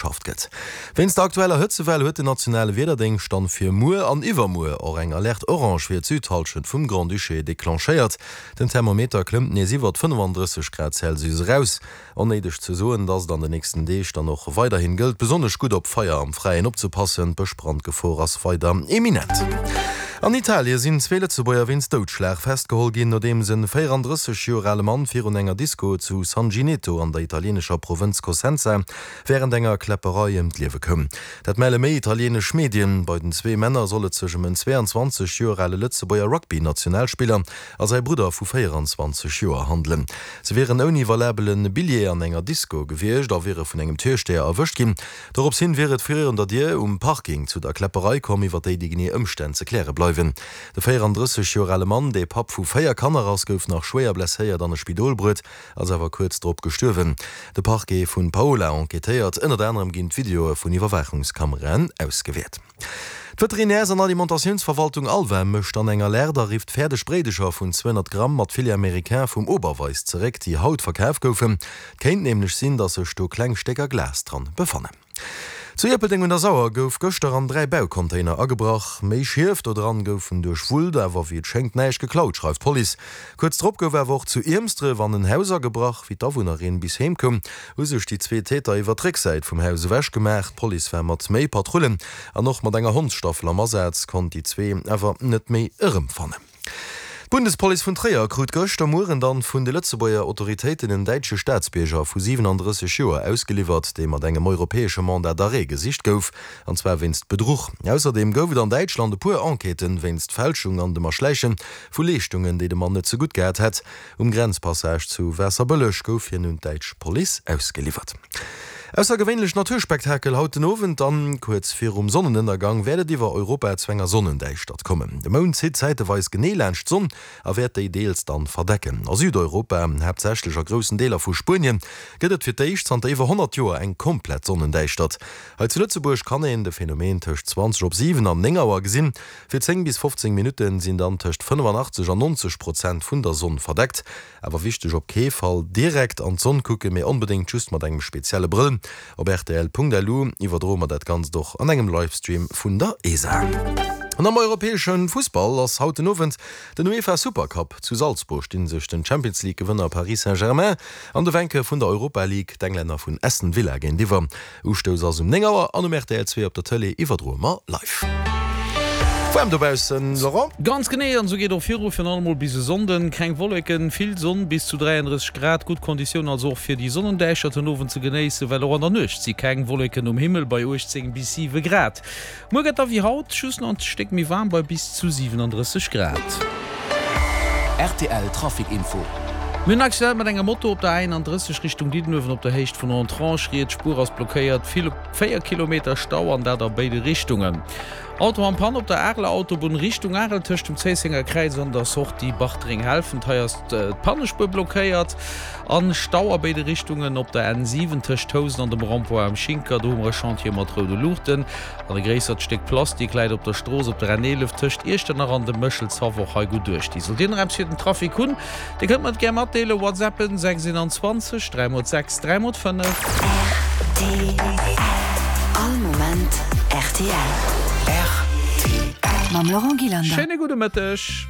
Schafft gëtt. Wéinst der aktueller Hëtzewell huet den nationale Wiederdéngscht dann fir muer an iwwermuer och eng Alerte orange fir d'Südhallschent vum Grand-Duché declenchéiert. Den Thermometer klëmmt nees iwwert 35 Grad Celsius eraus. Onnéideg ze soen, dass et an de nächsten Deeg dann och weiderhin gëllt, besonnesch gutt op Feier am Fräien opzepassen. D'Bëschbrandgefor ass weider eminent. An Italie sinn zwee Lëtzebuerger wéinst Doudschlag festgeholl ginn, nodeems en 34 Joer ale Mann virun enger Disko zu Sangineto an der italieenescher Provënz Cosenza wärend enger Kläpperei ëm d'Liewe koum. Dat melle méi italienesch Medien. Bei den zwee Männer soll et sech ëm en 22 Joer ale Lëtzebuerger Rugby-Nationalspiller a säi Brudder vu 24 Joer handelen. Se wieren ouni valabele Billjee an enger Disko gewiescht a wiere vun engem Türsteher erwëscht ginn. Dorops hin wier et virun der Dier um Parking zu der Kläpperei komm, iwwer déi déi genee Ëmstänn ze kläre bleiwen. De 34 Joer ale Mann, dee Papp vu 4 Kanner ass, gouf nach schwéier blesséiert an e Spidol bruet. Ass awer kuerz drop gestuerwen. De Parquet vun Paola enquêtéiert. Ënnert anerem ginn d'Videoe vun Iwwerwaachungskameraen ausgewäert. D'Veterinärs an Alimentatiounsverwaltung ALVA mécht dann eng Alerte a rifft fäerdeg Bréidecher vun 200 Gramm mat Filet américain vum Oberweis zeréck, déi haut verkaf goufen. Et kéint nämlech sinn, datt sech do kleng Stécker Glas dran befannen. Zu Ierpeldeng un der Sauer gouf gëschter an 3 Baucontainer agebrach. Méi Schief do dran goufen duerchwullt, awer wéi et schéngt näischt geklaut, schreift d'Police. Kuerz drop gouf awer och zu Iermsdref an en Haus agebrach. Wéi d'Awunnerin bis heem koum, hu sech déi zwee Täter iwwer d'Récksäit vum Haus ewech gemaach. D'Police war mat méi Patrullen an och mat enger Hondsstaffel am Asaz, konnt déi zwee awer net méi erëmfannen. D'Bundespolice vun Tréier krut gëschter Mueren dann vun de Lëtzebuerger Autoritéiten en däitsche Staatsbierger vu 37 Joer ausgeliwwert, dee mat engem europäesche Mandat d'arrêt gesicht gouf, an zwar wéinst Bedruch. Ausserdeem gouf et an Däitschland e puer Enquêten wéinst Fälschung an dem Erschläiche vu Leeschtungen, déi de Mann net ze gutt gehat hätt. Um Grenzpassage zu Waasserbëlleg gouf hien un d'däitsch Police ausgeliwwert. Aussergewéinlecht Naturspektakel haut den Owend dann. Kuerz virum Sonnenënnergang wäert et iwwer Europa zu enger Sonnendäischtert kommen. De Mound zitt zäiteweis genee laanscht d'Sonn a wäert déi deels dann verdecken. A Südeuropa, haaptsächlech a groussen Deeler vu Spuenien, gëtt et fir d'éischt zanter iwwer 100 Joer eng komplett Sonnendäischtert. Hei zu Lëtzebuerg kann een de Phänomen tëscht 20 op 7 an 9 Auer gesinn. Fir 10 bis 15 Minutte sinn dann tëscht 85 an 90 Prozent vun der Sonn verdeckt. Awer wichteg, op kee Fall direkt an d'Sonn kucken, mee onbedéngt just mat engem spezielle Brëll. Op rtl.lu iwwerdroe mer dat Ganzt och an engem Livestream vun der ESA. An am europäesche Fussball ass haut den Owend den UEFA Supercup. Zu Salzburg sti sech den Champions League Gewënner Paris Saint-Germain an de Vainqueur vun der Europa League, d'Englänner vun Aston Villa géintiwwer. Ustouss ass um 9 Auer an um rtl 2 op der Tëlee iwwerdroe mer live. Waarm dobaussen, Laurent? Ganz genee, an esou geet och viru, virun allem mol bis e Sonnden. Keng Wolleken, vill Sonn, bis zu 33 Grad. Gutt Konditioun also och fir déi Sonnendäischtert den Owend ze genéissen, well och an der Nuecht si keng Wolleken um Himmel bei 18 bis 7 Grad. Muer gëtt da wéi haut just nach en Stéck méi waarm bei bis zu 37 Grad. Rtl Trafic Info. Mir hunn en Accident mat enger Moto op der A31 Richtung Diddenuewen op der Héicht vun Entrange. Riets Spuer ass blockéiert, vill 4 Kilometer Stau an dat a béide Richtungen. Auto an Panne op der Areler Autobunn Richtung Arel tëscht dem Zéissenger Kräiz an der Sortie Bartreng-Helfent. Hei ass d'Pannespuer blockéiert an Stau a béide Richtungen op der N7 tëscht Housen an dem Rond-point am Schinker. Do hu mer e Chantier mat roude Luuchten an e gréissert Stéck Plastik läit op der Strooss op der N11 tëscht Iechternach an dem Méchelshaff. Och hei gutt uecht. Déi sollt Dir nach eppes fir den Trafic hunn, Dir kënnt mer et gär matdeelen. WhatsAppen 6 21 3 x 6 3 x 5. Rtl. All Moment rtl. Rtl. Mam Laurent Gillander. Schéine gudde Mëtteg.